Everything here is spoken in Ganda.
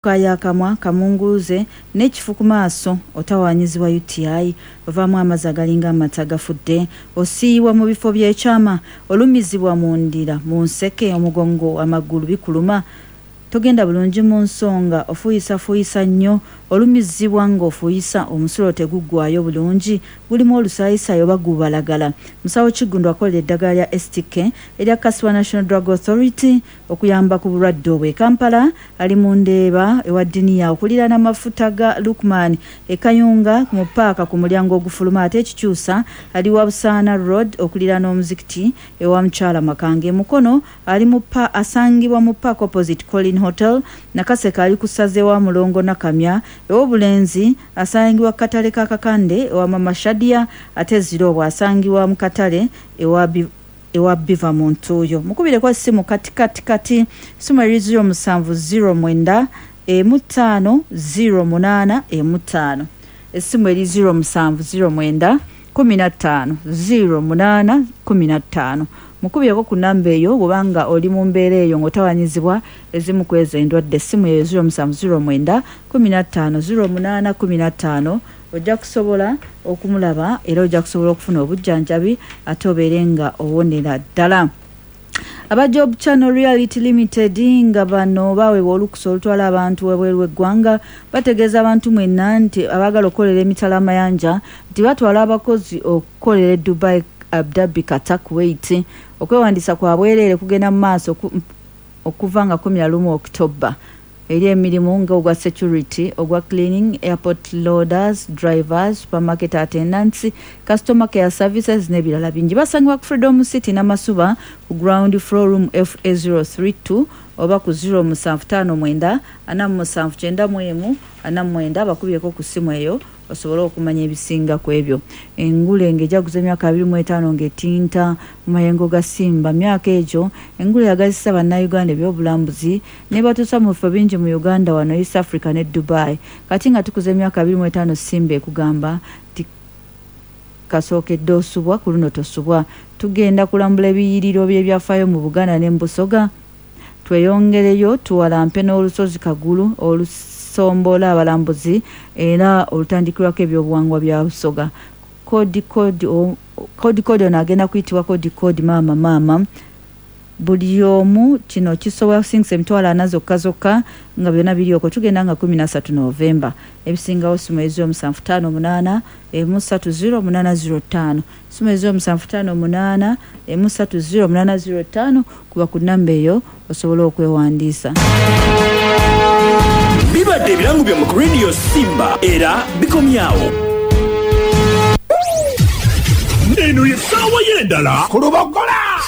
Okaaya akamwa, kamunguluze n'ekifu ku maaso, otawaanyizibwa UTI, ovaamu amazzi agalinga amata agafudde, osiiyibwa mu bifo by'ekyama, olumizibwa mu ndira, mu nseke, omugongo, amagulu bikuluma, togenda bulungi mu nsonga, ofuuyisafuuyisa nnyo, olumizibwa ng'ofuuyisa, omusulo teguggwaayo bulungi, gulimu olusaayisaayi oba gubalagala. Musawo Kiggundu akolera eddagala lya STK eryakkasibwa National Drug Authority okuyamba ku bulwadde obwo. E Kampala ali mu Ndeeba ewa Diniya okuliraana amafuta ga Lukman e Kayunga mu ppaaka ku mulyango ogufuluma ate e Kikyusa ali wa Busaana Road okuliraana omuzikiti ewa Mukyala Makanga. E Mukono ali mu pa asangibwa mu Park opposite Colin Hotel. Nakaseke ali ku ssaza ewa Mulongo Nakamya. Ewobulenzi asangibwa ku katale ka Kakande ewa Mama Shadia ate e Zirobwa asangibwa mu katale ewa ewa Biva mu Ntuuyo. Mukubireko essimu kati kati kati essimu eri 07 09 emu ttaano 0 8 emu ttaano. Essimu eri 0709 15 08 15. Mukubireko ku namba eyo bw'oba oli mu mbeera eyo ng'otawanyizibwa ezimu ku ezo endwadde. Essimu eyo 0709 15 08 15 ojja kusobola okumulaba era ojja kusobola okufuna obujjanjabi ate obeere nga owonera ddala. Aba Job Channel Reality Limited nga bano baweebwa olukusa olutwala abantu webweru w'eggwanga bategeeza abantu mwenna nti abaagala okukolera emitala amayanja nti batwala abakozi okukolera e Dubai, Abu Dhabi, Qatar, Kuwait. Okwewandiisa kwa bwereere kugenda mu maaso okuva nga 11 October eri emirimu nga ogwa security, ogwa cleaning, airport loaders, drivers, supermarket attendants, customer care services n'ebirala bingi. Basangibwa ku Freedom City Namasuba ku ground floor, room FA032 oba ku 0759 47 91 49. Bakubyeko ku ssimu eyo osobole okumanya ebisinga ku ebyo. Engule ng'ejaguza emyaka 25 ng'etinta mu mayengo ga Simba. Myaka egyo engule yagazisa Bannayuganda ebyobulambuzi ne batuusa mu bifo bingi mu Uganda wano, East Africa ne Dubai. Kati nga tukuza emyaka 25, Simba ekugamba nti kasookedde osubwa, ku luno tosubwa. Tugenda kulambula ebiyiriro by'ebyafaayo mu Buganda ne mu Busoga, tweyongereyo tuwalampe n'olusozi Kagulu olusombola abalambuzi era olutandikirwako ebyobuwangwa bya Busoga. Kodi kodi kodi kodi ono agenda kuyitibwa Kodi Kodi Maama Maama. Buli omu kino kisobola kusingisa 40,000 zokka zokka nga byonna biri okwo. Tugenda nga 13 Novemba. Ebisingawo simu 0758 130 805, simu 0758 130 805. Kuba ku namba eyo osobole okwewandiisa. Bibadde ebirango byammwe ku Radio Simba era bikomyawo. Eno ye ssaawa y'endala ku Lubogola.